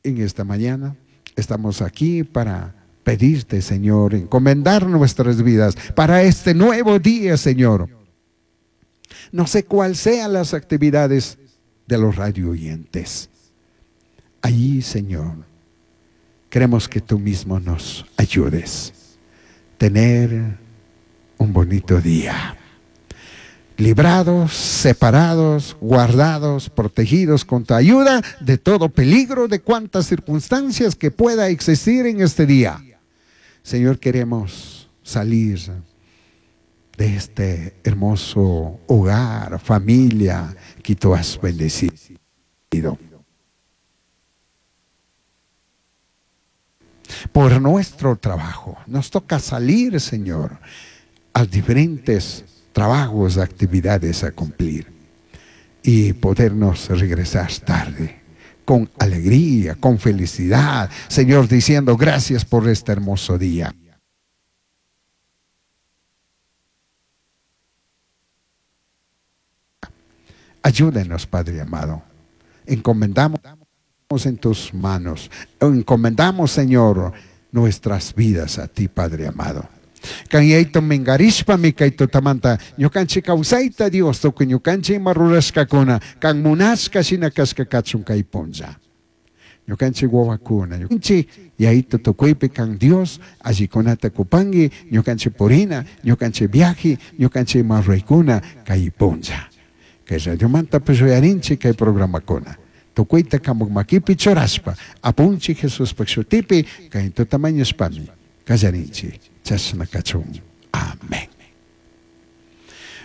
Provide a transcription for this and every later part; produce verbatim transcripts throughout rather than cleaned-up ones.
En esta mañana estamos aquí para pedirte, Señor, encomendar nuestras vidas para este nuevo día, Señor. No sé cuáles sean las actividades de los radio oyentes. Allí, Señor, queremos que tú mismo nos ayudes a tener un bonito día. Librados, separados, guardados, protegidos con tu ayuda de todo peligro, de cuantas circunstancias que pueda existir en este día. Señor, queremos salir de este hermoso hogar, familia que tú has bendecido. Por nuestro trabajo, nos toca salir, Señor, a diferentes trabajos, actividades a cumplir y podernos regresar tarde con alegría, con felicidad, Señor, diciendo gracias por este hermoso día. Ayúdenos, Padre amado. Encomendamos en tus manos. Encomendamos, Señor, nuestras vidas a ti, Padre amado. Kan yayto mingarishpami kay tutamanta ñukanchik kawsayta Dios tukuy ñukanchik ima rurashkakuna kan munashka shina kashka kachun kay punlla. Ñukanchik wawakuna, ñukanchik yayto tukuypi kan Dios allikunata kupanki ñukanchik purina, ñukanchik viaje, ñukanchik ima ruraykuna kay punlla. Kay radiomanta uyarinchik kay programakuna. Tukuyta kamuk makipi churashpa apunchik Jesuspaj shutipi kay tutamañashpami kallarinchik. Chashna kachun. Amén.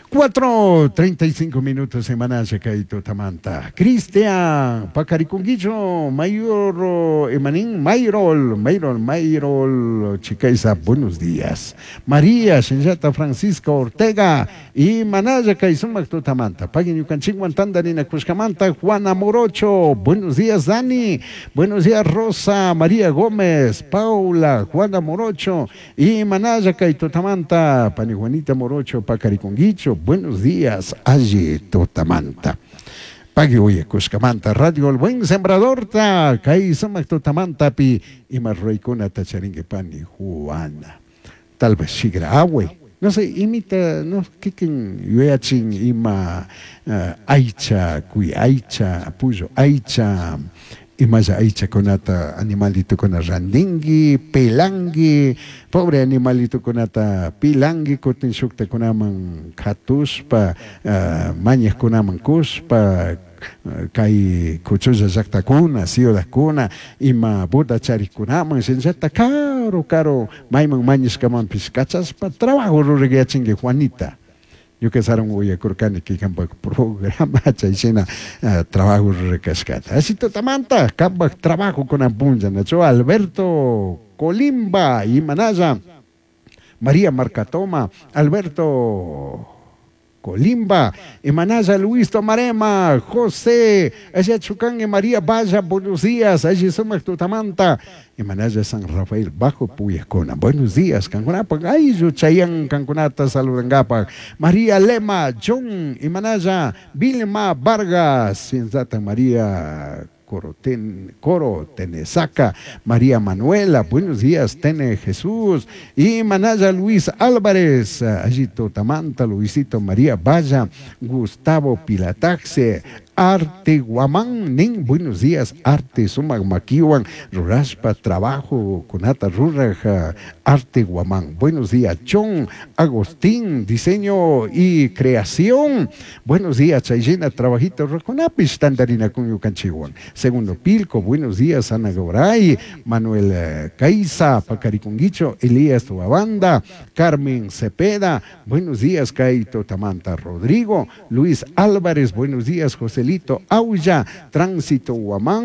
Cuatro treinta y cinco minutos semana kay tutamanta. Cristian Pacariconguillo, Mayor Emanín, Mayrol, Mayrol, Mayrol, Chicaisa, buenos días. María Shenyata Francisco Ortega y Manaya Kaisumac tutamanta. Paguen Yucanchingüan Tandarina Cuscamanta, Juana Morocho, buenos días Dani, buenos días Rosa, María Gómez, Paula, Juana Morocho y Manaya kay tutamanta, Pani Juanita Morocho, Pacariconguicho. Buenos días, Aye Totamanta. Pagui oye Cuscamanta, Radio El Buen Sembrador, ta, Kai Sumac Totamanta, pi, y Marroicuna Tacharingue Pani Juana. Tal vez sigra agüe. No sé, imita, no, kikin yuachin ima uh, aicha, cuy aicha, apuyo aicha. Imaya aicha kunata animalito kuna randingui, pelangui, pobre animalito kunata pilangui, kutin shukta kunaman katuspa, uh, mañas kunaman kuspa, uh, kay kuchulla llaqtakuna, ciudadkuna, ima buda charikunaman, shinllata caro, caro, mayman mañashkamanpish kachaspa, trabajo rurayachinki Juanita. Yo que saron uyakurkani kikanpak programa chayshina uh, trabajo rurashkata. Así tutamanta kampak trabajo kunan punlla nacho Alberto Colimba y Manaya María Marcatoma Alberto Colimba, Emanaya Luis Tomarema, José, Ayachucán y María Vaya, buenos días, allí somos Tutamanta, Emanaya San Rafael, Bajo Puyascona, buenos días, Cancunapa, ay, Chayan, Cancunata, Saludangapa, María Lema, John, Emanaya, Vilma Vargas, Cienzata María Coro, ten, Coro Tenesaca, María Manuela, buenos días, Tene Jesús, y Manaya Luis Álvarez, Ayito Tamanta, Luisito María Valla, Gustavo Pilataxe, Arte Guamán, Nin, buenos días, Arte Sumac Maquiwan, Ruraspa, Trabajo, Kunata Ruraja, Arte Guamán, buenos días, Chon, Agustín, Diseño y Creación, buenos días, Chayena, Trabajito, Roconapis, Tandarina, Cuñucanchihuan, Segundo Pilco, buenos días, Ana Goray, Manuel Caiza, Pacaricunguicho, Elías Tuabanda, Carmen Cepeda, buenos días, Caito Tamanta Rodrigo, Luis Álvarez, buenos días, José Lito Aulla, Tránsito Guamán,